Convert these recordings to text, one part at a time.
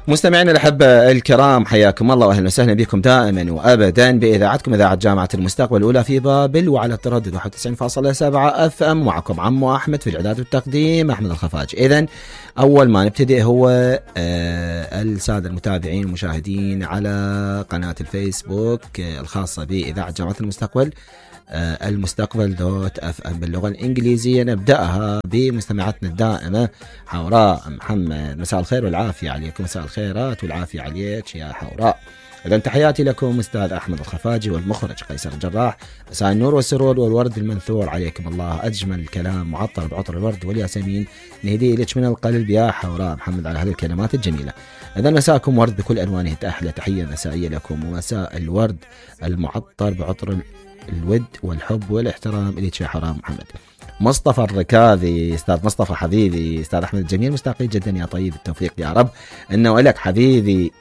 مستمعينا الأحبة الكرام، حياكم الله وأهلا وسهلا بكم دائما وأبدا بإذاعتكم إذاعة جامعة المستقبل الأولى في بابل، وعلى التردد 91.7 FM. معكم عمو أحمد في الإعداد والتقديم أحمد الخفاجي. إذن أول ما نبتدئ هو السادة المتابعين والمشاهدين على قناة الفيسبوك الخاصة بإذاعة جامعة المستقبل، المستقبل .FM باللغة الإنجليزية. نبدأها بمستمعاتنا الدائمة حوراء محمد، مساء الخير والعافية عليكم. مساء الخيرات والعافية عليك يا حوراء. إذن تحياتي لكم أستاذ أحمد الخفاجي والمخرج قيصر الجراح. مساء النور والسرور والورد المنثور عليكم الله. أجمل كلام معطر بعطر الورد والياسمين نهدي لك من القلب يا حوراء محمد على هذه الكلمات الجميلة. إذن مساءكم ورد بكل ألوانه. أحلى تحية مسائية لكم، ومساء الورد المعطر بعطر الود والحب والاحترام إليك يا حرام محمد. مصطفى الركاذي، أستاذ مصطفى حبيبي، أستاذ أحمد الجميل مستقي جدا يا طيب، التوفيق يا رب. إنه لك حبيبي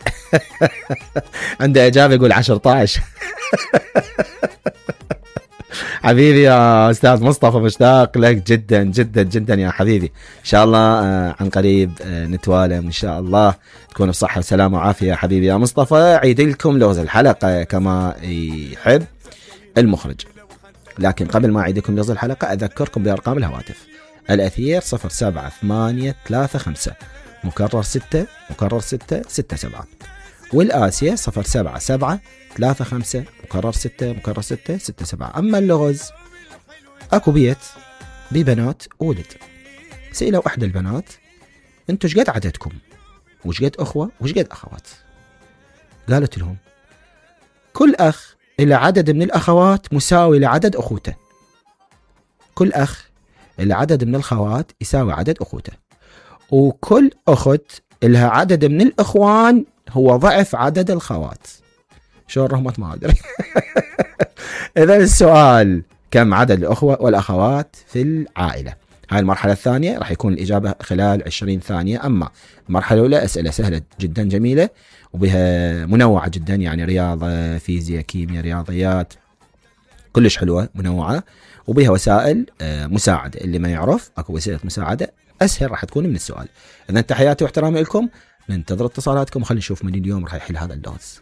عنده إجابة يقول 10 حبيبي يا أستاذ مصطفى، مشتاق لك جدا جدا جدا يا حبيبي. إن شاء الله عن قريب نتوالم إن شاء الله، تكون بصحة وسلامة وعافية يا حبيبي يا مصطفى. عيد لكم لغز الحلقة كما يحب المخرج، لكن قبل ما أعيدكم لغز الحلقة أذكركم بأرقام الهواتف. الأثير 07835 مكرر 6 مكرر 6 67، والآسيا 07735 مكرر 6 مكرر 6 67. أما اللغز أكو بيت ببنات ولد، سئلوا أحد البنات أنتوا شقد عددكم، وش قد أخوة وش قد أخوات؟ قالت لهم كل أخ إلى عدد من الأخوات مساوي لعدد أخوته، كل أخ إلى عدد من الأخوات يساوي عدد أخوته، وكل أخت إلها عدد من الأخوان هو ضعف عدد الخوات. شو الرحمة ما أدري. إذا السؤال كم عدد الأخوة والأخوات في العائلة؟ هاي المرحلة الثانية راح يكون الإجابة خلال 20 ثانية. أما المرحلة الأولى أسئلة سهلة جدا جميلة وبها منوعة جدا، يعني رياضة فيزياء كيمياء رياضيات كلش حلوة منوعة، وبها وسائل مساعدة. اللي ما يعرف أكو وسيلة مساعدة أسهل راح تكون من السؤال. إذن تحياتي واحترامي لكم، ننتظر اتصالاتكم وخلينا نشوف من اليوم راح يحل هذا اللغز.